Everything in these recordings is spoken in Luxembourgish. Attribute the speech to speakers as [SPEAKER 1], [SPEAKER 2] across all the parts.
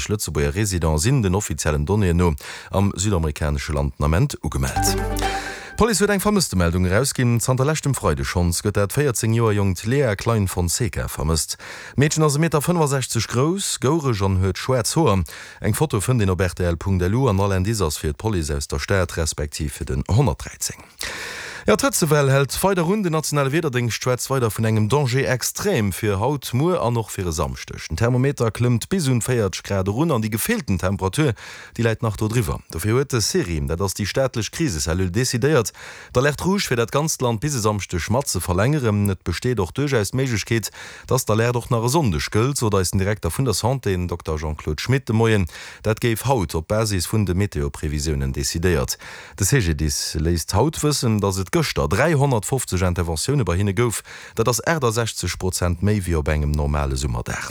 [SPEAKER 1] Lëtzebuerger Residente sinn den offiziellen Donnéeën no am südamerikanesche Land den Ament ugemellt. D'Police huet eng Vermësstemeldung erausginn. Zanter leschtem Freide schonns gëtt dat 14 Joer jonkt Lea Klein Fonseca vermësst. D'Meedchen ass e Meter 65 grouss, goureg an huet schwaarz Hoer. Eng Foto fënnt een op rtl.lu an all Indice ass fir d'Police aus der Stad respektiv fir den 113. Jo, d'Hëtzewell hält weider un. Den nationale Wiederdéngscht schwätzt weider vun engem Danger extrême fir haut, muer an och fir e Samschdeg. Den Thermometer klëmmt bis un 40 Grad erun an déi gefillten Temperatur, déi läit nach do driwwer. Dofir huet de CERIM, dat ass déi staatlech Krisecellule, decidéiert, d'Alerte rouge fir dat ganzt Land bis e Samschdeg mat ze verlängeren. Et besteet och duerchaus d'Méiglechkeet, dass d'Alerte och nach e Sonndeg gëllt, sot eis den Direkter vun der Santé, den Dokter Jean-Claude Schmit, de Moien. Dat géif haut op Basis vun de Meteoprevisiounen decidéiert. De CGDIS léisst haut wëssen, datt et gëschter 350 Interventioune bei hinne gouf. Dat ass 68 Prozent méi wéi op engem normale Summerdag.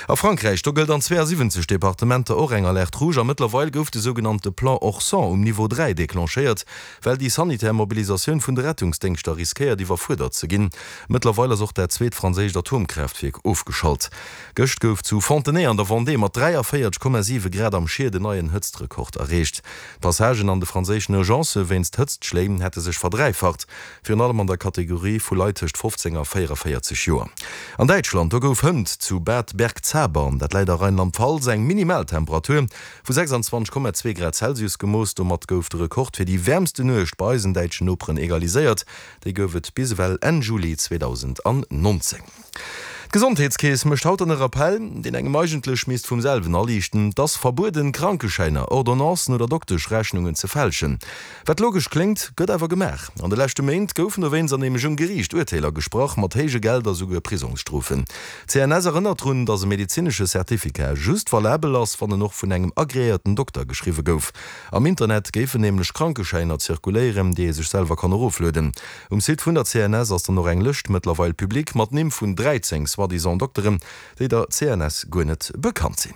[SPEAKER 1] A Frankräich, do gëllt an 72 Departementer och eng Alerte rouge a mëttlerweil gouf de sougenannte Plan Orsan um Niveau 3 declenchéiert, well déi sanitär Mobilisatioun vun de Rettungsdéngschter riskéiert iwwerfuerdert ze ginn. Mëttlerweil ass och dat zweet franséischt Atomkraaftwierk ofgeschalt. Gëscht gouf zu Fontenay an der Vendée mat 43,7 Grad am Schied en neien Hëtztrekord erreecht. D'Passagen an de franséischen Urgencë wéinst Hëtztschléi hätte sech verdräifacht, virun allem an der Kategorie vu Leit tëscht 15 a 44 Joer. An Däitschland, do gouf hënt zu Bad Bergzabern, dat läit a Rheinland-Pfalz, eng Minimaltemperatur vu 26,2 Grad Celsius gemooss. Domat gouf de Rekord fir déi wäermsten Nuecht bei eisen däitschen Noperen egaliséiert. Déi gouf et bis ewell Enn Juli 2019. D'Gesondheetskeess mécht haut dann e Rappell, deen engem eigentlech misst vum selwen aliichten, Et ass verbueden, Krankeschäiner, Ordonnancen oder Dokteschrechnungen ze fälschen. Wat logesch kléngt, gëtt awer gemaach. An de leschte Méint goufen dowéinst an nämlech um Geriicht Urteeler gesprach, mat héije Geld a souguer Prisongsstrofen. D'CNS erënnert drun, datt e medezinesche Certificat just valabel ass, wann en och vun engem agreéierten Dokter geschriwwe gouf. Am Internet géifen nämlech Krankeschäiner zirkuléieren, déi ee sech selwer kann eroflueden. Um Site vun der CNS ass dann och eng Lëscht mëttlerweil public mat Nimm vun 13 soi-disant Dokteren, déi der CNS guer net bekannt sinn.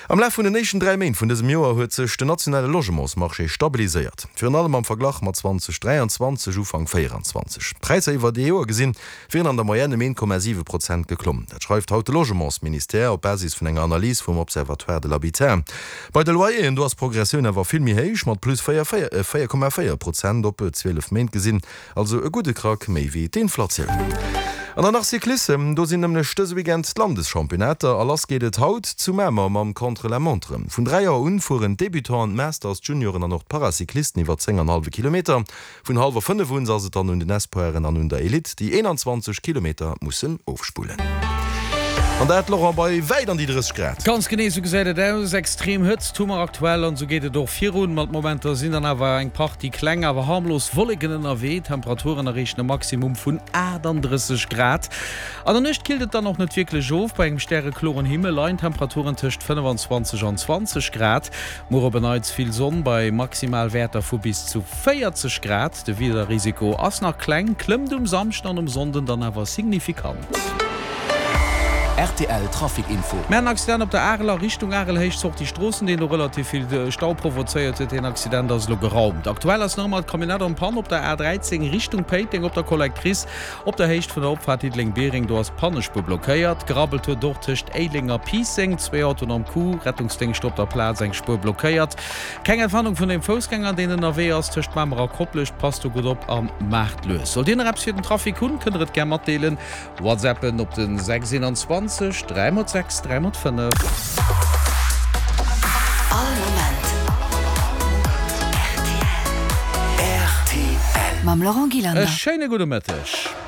[SPEAKER 1] Am Laf vun den éischten 3 Méint vun dësem Joer huet sech den nationale Logementsmarché stabiliséiert, virun allem am Verglach mat 2023, Ufank 24. D'Präisser iwwert ee Joer gesinn wieren an der Moyenne ëm 1,7 Prozent geklomm. Dat schreift haut de Logementsministère op Basis vun enger Analys vum Observatoire de l'habitat. Bei de Loyeren, do ass d'Progressioun awer vill méi héich, mat plus 4,4 Prozent op 12 Méint gesinn, also e gudde Krack méi wéi d'Inflatioun. An dann nach Cyclissem, do sinn nämlech dëse Weekend d'Landeschampionnaater a lass geet et haut zu Mamer mam Contre-la-montre. Vun 3 Auer un fueren d'Debutanten, d'Masters, d'Junioren an och d'Paracyclisten iwwer 10 an hallwe Kilometer. Vun hallwer 5 un ass et dann un den Espoiren an un der Elite, déi 21 Kilometer mussen ofspullen. An dat, Laurent, bei wäit an déi 30 Grad.
[SPEAKER 2] Ganz genee esou gesäit et aus. Extrem Hëtzt hu mer aktuell an esou geet et och virun. Mat Momenter sinn dann awer eng Partie kleng, awer harmlos Wolleken ënnerwee. D'Temperaturen erreechen e Maximum vun 38 Grad. An der Nuecht killt et dann och net wierklech of. Bei engem stärekloren Himmel leien d'Temperaturen tëscht 25 an 20 Grad. Muer op en Neits vill Sonn bei Maximalwäerter vu bis zu 40 Grad. De Wiederrisiko ass nach kleng, klëmmt um Samschden an um Sonnden dann awer signifikant.
[SPEAKER 3] Rtl Trafic Info.
[SPEAKER 2] Mir haten en Accident op der Arel a Richtung Arelhéicht, Sortie Stroossen, deen do relativ vill Stau provozéiert huet. Deen Accident ass elo geraumt. Aktuell ass nach ëmmer d'Camionnette en panne op der A13 Richtung Péiteng op der Collectrice. Op der Héicht vun der Opfaart Diddeleng-Biereng, do ass d'Pannespuer blockéiert. Gerabbelt huet et och tëscht Éileng a Piisseng. Zwéi Autoen am Coup, Rettungsdéngscht op der Plaz, eng Spuer blockéiert. Keng Entwarnung vun dem Foussgänger, deen ënnerwee ass tëscht Mamer a Koplescht. Passt do gutt op a maacht lues. Sollt Dir nach eppes fir den Trafic hunn, kënnt der et gär matdeelen. Whatsappen op den 6 21 3 x 6 3 x 5.
[SPEAKER 3] All Moment rtl. Mam Laurent
[SPEAKER 2] Gillander. E
[SPEAKER 3] schéine
[SPEAKER 2] gudde Mëtteg.